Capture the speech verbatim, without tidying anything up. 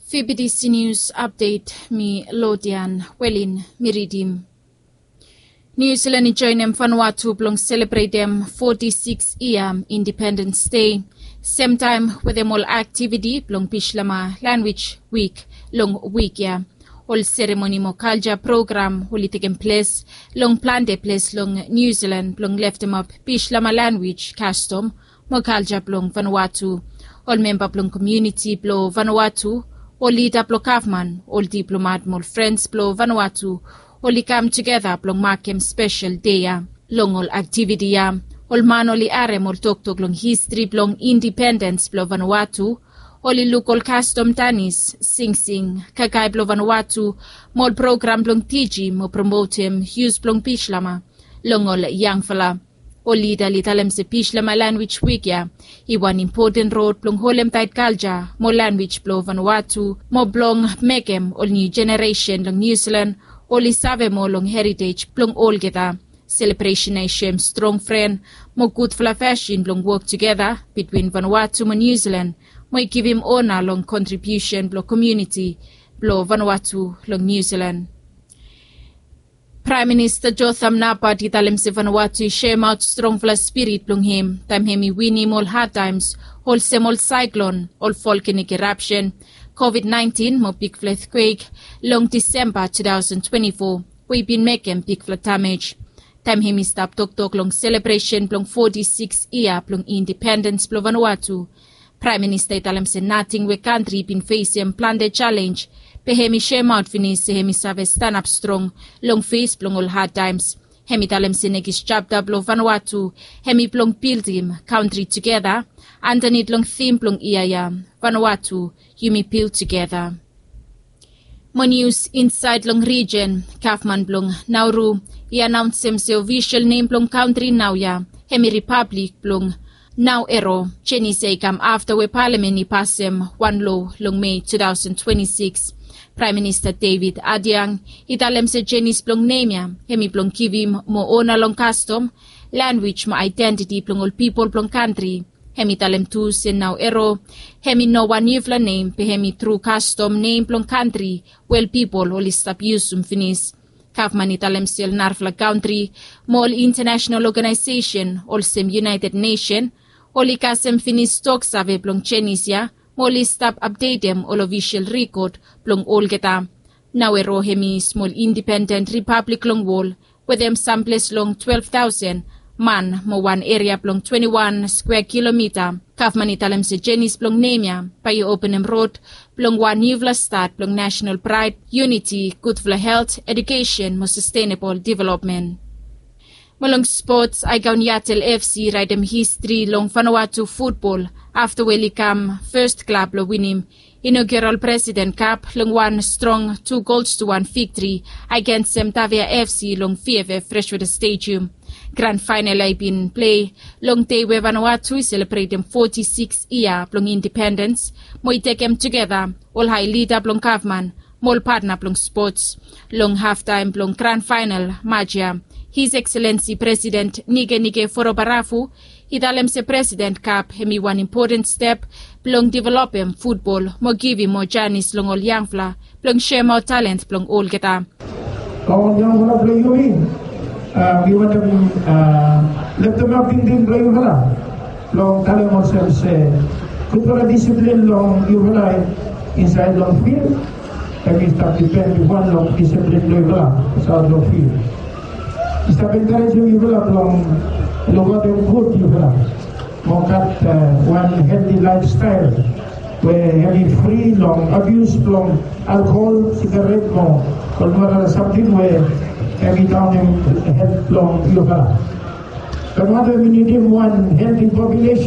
Fi B B C News Update, mi Lodian Welin mi ridim. New Zealand i joenem Vanuatu blong selebretem foti sikis yia Independens Dei, semtaem wetem ol aktiviti blong Bislama Lanwij Wik long wik ya. Ol seremoni mo kalja program oli tekem ples long plante ples long New Zealand blong leftemap Bislama lanwij, kastom mo kalja blong Vanuatu. Ol memba blong komuniti blong Vanuatu, ol lida blong gavman, ol diplomat mo ol frens blong Vanuatu oli kam tugeta blong makem spesel dei ya. Long ol aktiviti ya, ol man oli harem ol toktok long histri blong indipendens blong Vanuatu, oli luk ol kastom danis, singsing, kakae blong Vanuatu, mo ol program blong tijim mo promotem yus blong Bislama long ol yangfala. Ol lida oli talem se Bislama Lanwij Wik ya i wan impoten rod blong holem taet kalja mo lanwij blong Vanuatu mo blong mekem ol niu jeneresen long New Zealand oli save moa long heritej blong olgeta. Selebresen ya i soem strong fren mo gudfala fasin blong wok tugeta bitwin Vanuatu mo New Zealand, mo i givim ona long kontribiusen blong komuniti blong Vanuatu long New Zealand. Praem Minista Jotham Napat i talem se Vanuatu i soemaot strongfala spirit blong hem taem hem i winim ol hadtaems olsem ol saeklon, ol volkanik erapsen, Covid nineteen mo bigfala etkwek long Disemba two thousand twenty-four we i bin mekem bigfala damej. Taem hem i stap toktok long selebresen blong foti sikis yia blong indipendens blong Vanuatu, Praem Minista i talem se nating we kantri i bin fesem plante jalenj, be hem i soemaot finis se hem i save stanap strong long fes blong ol hadtaems. Hem i talem se nekis japta blong Vanuatu hem i blong bildim kantri tugeta andanit long tim blong yia ya, Vanuatu, yumi bil tugeta. Mo nius insaed long rijen, gavman blong Nauru i anaonsem se ofisol nem blong kantri naoia hem i Ripablik blong Nauru. Jenis ya i kam afta we palamen i pasem wan loa long Mei two thousand twenty-six. Praem Minista David Ardern i talem se jenis blong nem ya hem i blong givim moa ona long kastom, lanwij mo aedentiti blong ol pipol blong kantri. Hem i talem tu se Nauru hem i no wan niufala nem, be hem i tru kastom nem blong kantri we ol pipol oli stap yusum finis. Gavman i talem se ol narafala kantri mo ol intanasenal oganaesesen olsem United Nesen oli kasem finis toksave blong jenis ya mo oli stap apdetem ol ofisol rikod blong olgeta. Nauru hem i smol indipenden ripablik long wol wetem samples long twelve thousand man mo wan eria blong twenty-one skwea kilomita. Gavman i talem se jenis blong nem ya bae i openem rod blong wan niufala stat blong nasenal praed, yuniti, gudfala helt, edukesen mo sastenabol developmen. Mo long spots, Aegon Yatel F C i raetem histri long Vanuatu futbol afta we oli kam fes klab blong winim Inaugural President Cup long wan strong tu gols tu wan viktri agensem Tavia F C long V F F Freshwater Stadium. Gran faenal ya i bin plei long dei we Vanuatu i selebretem foti sikis yia blong indipendens mo i tekem tugeta ol hae lida blong gavman mo ol patna blong spots. Long haftaem blong gran faenal match ya, His Excellency President Nikenike Vurobaravu i talem se President Cup hem i wan impoten step blong developem futbol mo givim moa janis long ol yangfala blong soemaot talent blong olgeta. Long ol yangfala blong yumi, a, wi wantem, a, leftemap tingting blong yufala blong talem olsem se gudfala disiplin blong yufala insaed long fil hem i stap dipen bifo long disiplin blong yufala aotsaed long fil. I stap enkarejem yufala blong lukaotem gud yufala mo gat, a, wan helti laefstael we hem i fri long abius blong alkohol, sigaret mo ol narafala samting we hem i daonem helt blong yufala. Vanuatu hem i nidim wan helti populesen.